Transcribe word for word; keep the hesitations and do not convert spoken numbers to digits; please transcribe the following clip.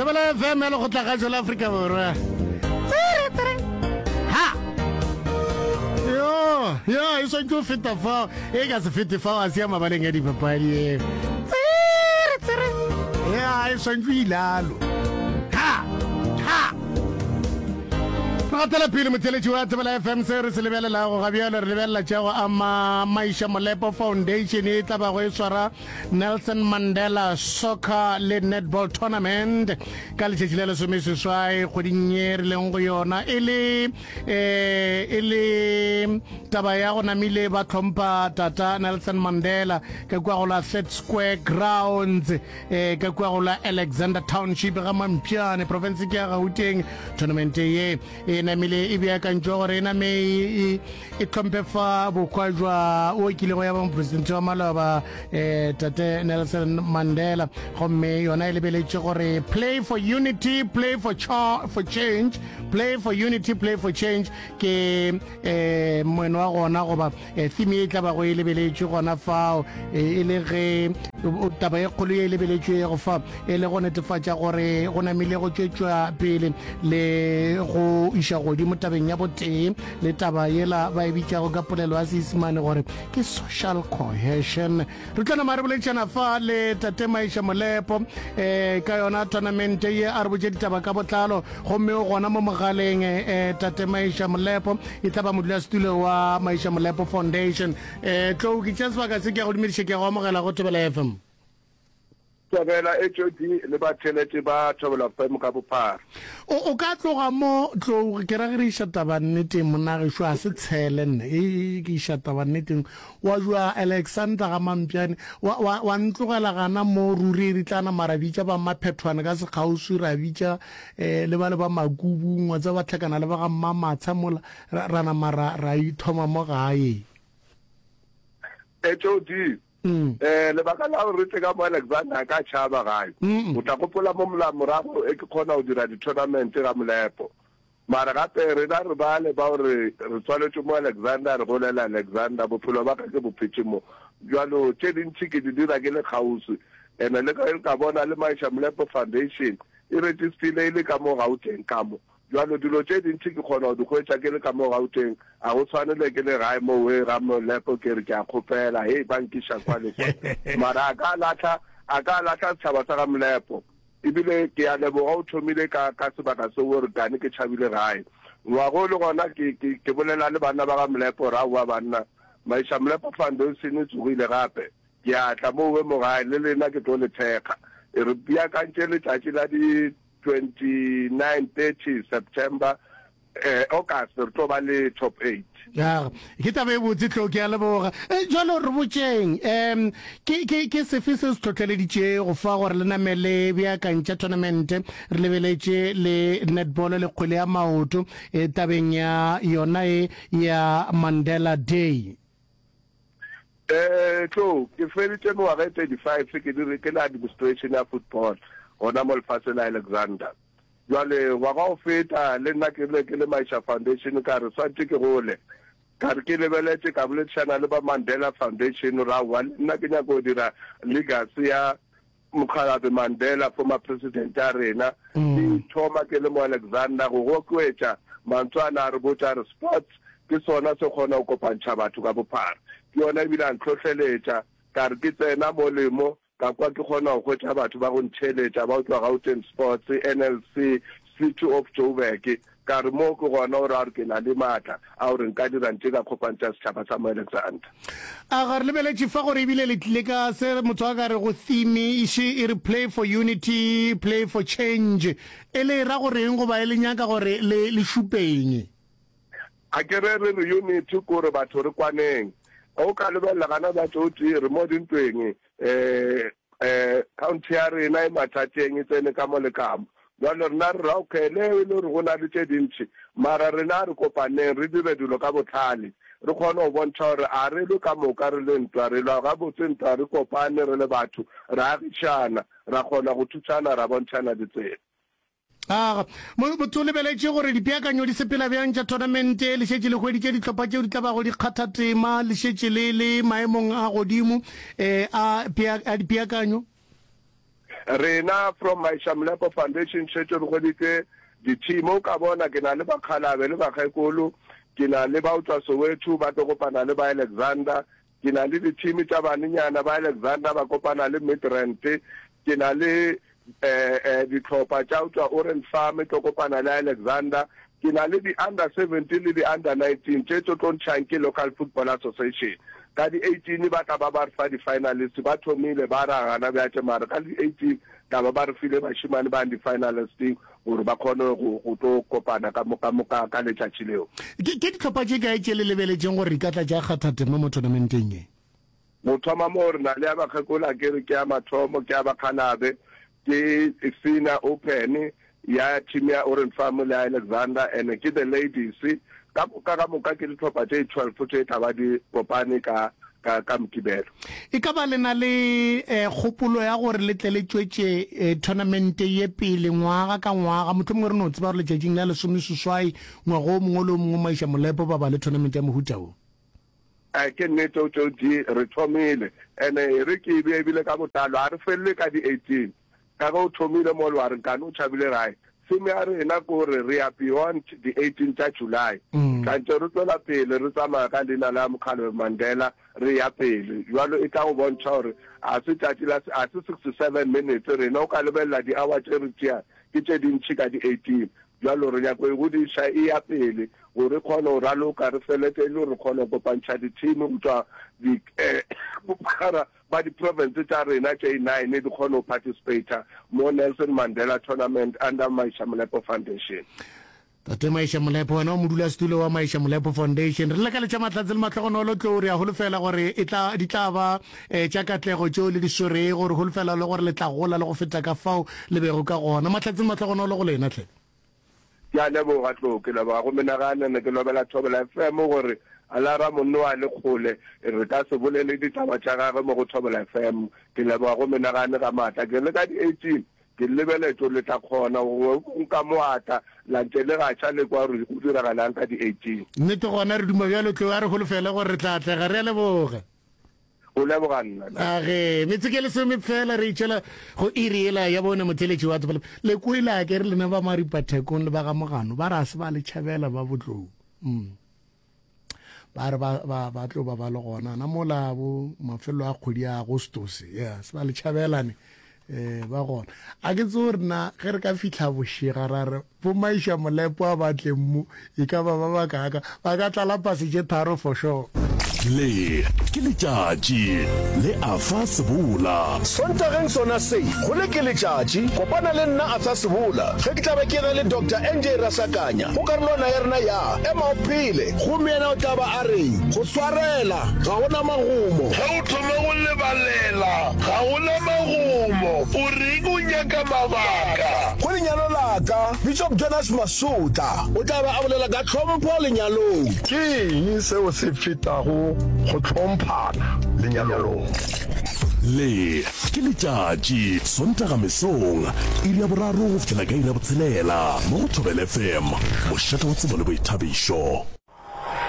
Thobela F M ya Lekgotlakgašo la Afrika Borwa. Tsere, tsere. Ha! Yo, yo, e swantše go feta fao. E ka se fete fao, a se ya mabaleng ya dipapadi e. Tsere, tsere. Ya, e swantše ilalo. Ha! Ha! Re gatela pele, motheletši wa Thobela F M. Se re se lebelelago ga bjalo, re lebelela tša go ama Maisha Molepo Foundation e tla bago e swara Nelson Mandela Soccer le Netball Tournament ka letšatši la lesomeseswai kgweding ye re leng go yona, e le eh, e le taba ya go namile ba tlhompha tata Nelson Mandela ka kua go la Third Square Grounds, eh, ka kua go la Alexander Township ga Mampjane, province ke ya Gauteng. Tournament ye e namile e beakantšwe gore e name e, e tlhomphe fa bohwa jwa o kilego ya ba mopresidente wa maloba, eh, tate Nelson Mandela. Gomme yona e lebeletše gore play for unity, play for, cha for change. Play for unity, play for change ke eh, moeno wa gona, goba eh, theme e tla bago e lebeletše gona fao, eh, e le ge taba e kgolo ye e lebeletšwe go fa e le go netefatša gore go namile go tšwetšwa pele le go iša godimo tabeng ya botee le taba yela ba e bitšago ka polelo ya Seisemane gore ke social cohesion. Re tla nama re boletšana fa le tate Maisha Molepo um ka yona tournament ye, a re botše ditaba ka botlalo. Gomme o gona mo mogaleng, um tate Maisha Molepo e tla ba modulasetulo wa Maisha Molepo Foundation. um tlo ke tša sebaka se, ke ya go dumediša, ke ya go amogela go Thobela F M. Thobela H O D le batheletše ba Thobela F M ka bophara. o o ka tloga mo tlo ke ra ge re iša taba nneteng, monagešo a se tshele nne e e- ke iša taba nneteng wa jwa Alexander ga Mampjane, wa, wa, wa ntlogela gana mo ruri. Re tla nama ra bitša ba Maphethwane ka sekgauswi, ra bitša um le ba le ba Makubung wa tsa ba tlhakana le ba ga Mmamatsha mola, ra ra nama ra ra ithoma mo gae. H O D, mm. eh lebaka la gore re tle ka mo Alexander a ka tšhaba gae, Mm o tla gopola mo mola morago e ke kgona go dira di-tournament ga Molepo, mara gape rena re bale ba gore re tswaletše mo Alexander, re golela Alexander, bophelo ba ka ke bophetše mo. Jalo tše dintšhi ke di dira ke le kgauswi, ene le ka ka bona le Maisha Molepo Foundation e registile e le ka mo Gauteng ka mo. Jalo dilo tše dintšhi ke kgona go di hwetša ke le ka mo Gauteng, a go tshwanele ke le gae mo we ga Molepo ke re ke a kgopela, hei, ba nkiša kwa le kwa. Mara a ka lahla a ka lahla setšhaba sa ga Molepo. Ebile ke a leboga o thomile ka ka sebaka seo gore kane ke tšhabile gae ngwago le gona ke ke ke bolela le banna ba ga Molepo gore aowa banna, Maisha Molepo Foundation e tsogile gape, ke a tla mo we mo gae le lena, ke tlo le thekga. E re beakantše letšatši la di twenty-nine, thirty September, eh August, re tlo ba le top eight. Ya, ke taba e botse tlo, ke a leboga. e, jalo re botšeng, um ke, ke, ke sefe se se tlhotlheleditše go fa gore le name le beakantša tournament re lebeletše le netball le kgwele ya maoto, e, tabeng ya yona e ya Mandela Day? eh tlo ke feditše mengwaga e thirty-five ke dire ke le administration ya football gona mo lefatsheng la Alexander. Jwale ngwaga o feta le nna ke le ke le Maisha Foundation ka re swantše ke gole, ka re ke lebeletše, ka boledišana le ba Mandela Foundation ra wa le nna ke nyako go dira legacy ya mokgalabe Mandela, former president ya rena. Ke thoma ke le mo Alexander go gokwetša mantswe a na a re botša re sports ke sona se kgona go kopantšha batho ka bophara. Ke yona ebile a ntlhohleletša ka re ke tsena mo lemo ka kwa ke kgona go hwetša batho ba go ntheletša ba go tšwa Gauteng Sports, N L C, City of Joburg. Ka re mo ke gona gore a re ke na le maatla a gore nka dira ntše ka kopantšha setšhaba sa mo Alexander. A ga re lebeletše fa gore ebile le tlile ka se motho a ka re go theme iše e re play for unity, play for change, e le ra goreng goba e le nyaka gore le le šupeng? A ke re re re unity kore batho re kwaneng. O ka lebelela gana ba tšotse re mo dintweng, um um county ya rena e mathateng, e tsene ka mo le ka mo. Jalo rena re ra okay, le e le gore go na le tše dintšhi, mara rena re kopaneng, re dire dilo ka botlhale, re kgone go bontšha gore a re lwe ka moka, re le ntwa re lwa gabotse ntwa, re kopane re le batho, re agišana, ra kgona go thušana, ra bontšhana ditsela. Aga motho o lebeletše gore dipeakanyo di sepela bjang tša tournament, le šetše le hweditše dihlopha tšeo di tla bago di kgatha tema, le šetše le le maemong a godimo um a, a dipeakanyo? Rena from Maisha Molepo Foundation šetše re hweditše di-team. O ka bona ke na le bakgalabe le bakgekolo, ke na le ba go tšwa Soweto ba tlo kopana le ba Alexander, ke na le di-team tša banenyana ba Alexander ba kopana le Midrand, ke na le dihlopha tša go tšwa Orange Farm tlo kopana le Alexander, ke na le di-under seventeen le di-under nineteen tše tlo tlo ntšhang ke Local Football Association. Ka di eighteen ba tla ba ba re fa di-finalist, ba thomile ba ra gana bjatše mara ka di eighteen tla ba ba re file bašemane ba di-finalist gore ba kgone go go tlo kopana ka mo ka mo ka ka letšatši leo. Ke ke dihlopha tše kae tše le lebeletšeng gore di ka tla tša kgatha tema mo tournamenteng ye? Go thoma moo re na le ya bakgekolo, a ke re ke ya mathomo, ke ya bakgalabe, ke Senior Open ya team ya Orange Farm le ya Alexander, and ke the ladies. Ka moka ka moka ke dihlopha tše twelve tše tla ba di kopane ka ka ka Mokibelo. E ka ba le na le kgopolo ya gore le tle le tšwetše tournament ye pele ngwaga ka ngwaga, mohlomongwe re no tseba gore letšatšing la lesomeseswai ngwaga o mongwe le o mongwe Maisha Molepo ba ba le tournament ya mohuta wo? A ke nnete o tšeo di re thomile and e re ke e bee ebile ka botlalo a re felele ka di eighteen ka ge o thomile mo le wa re nkane o tšhabile gae. Theme ya rena ke gore re ya beyond di eighteen tša July. Tla ntše re tšwela pele re tsamaya ka leina la Mokgalabje Mandela re ya pele. Bjalo e tla go bontšha gore a se tšatši la a se sixty seven minutes rena o ka lebelela di hour tše re tšeang ke tše dintši ka di eighteen. Bjalo re nyako e godiša e ya pele gore e kgone go raloka re felete e le gore re kgone go kopantšha di-team go tšwa di bophara ba di-province tša rena tše nine di kgone go participata mo Nelson Mandela Tournament under Maisha Molepo Foundation. Tate Maisha Molepo, wena o modulasetulo wa Maisha Molepo Foundation. Re lakaletša mahlatse le mahlogonolo tlou, re a holofela gore e tla, di tla ba eh, tša katlego tšeo le di swerego. Re holofela le gore le tla gola le go feta ka fao le bego ka gona. Mahlatse le mahlogonolo go lena hle. Ke a leboga Tlou, ke leboga go menagane ne ke lobela Thobela F M gore a la ra monno a le kgole re ka se bolele ditaba tša gagwe mo go Thobela F M. Ke leboga go menagane ga maatla. Ke re le ka di eighteen ke lebeletše gore le tla kgona gongwe nka mo atla la ntše le gatša le kwa gore go diragalang ka di eighteen. Nnete gona re duma bjalo Tlou, a re holofele gore re tla atlega. Re a leboga. Go leboga nna. A ge, metsotso e lesome fela re itšwela go iri yela ya bone motheletši wa Tsebole. Le kwele a ke re lena ba Maripathekong le ba ga Mogano ba re a se ba le tšhabela ba Botlou. Mm. Ba re ba, ba, ba tlo ba ba le gona na mola bo mafelo a kgwedi ya Agostose. Yeah, se ba le tšhabelane. Eh, ba gona. A ke tsebe gore na ge re ka fihla bošega ra re bo Maisha Molepo a ba tleng mo, e ka ba ba bakaaka, ba ka tlala pase tše tharo for sure. Le ke letšatši le Arthur Sebola. Sontageng sona se, go le ke letšatši, kopana le nna Arthur Sebola ge ke tla be ke ena le Doctor N J Rasakanya go karolwana ya rena ya Ema o Phele. Gomme yena o tla ba a re, Go swarela ga go na magomo. Ge o thoma go lebalela ga go na magomo. O reng o nyaka mabaka? Go lenyalo la ka, Bishop Jonas Masotla o tla ba a bolela ka tlhompho lenyalong. Ke eng seo se fetago go hlomphana lenyalong? Le ke letšatši, Sontaga mesong, iri ya boraro go fihlela ka iri ya botshelela, mo go Thobela F M, mošate wa tsebo le boithabišo.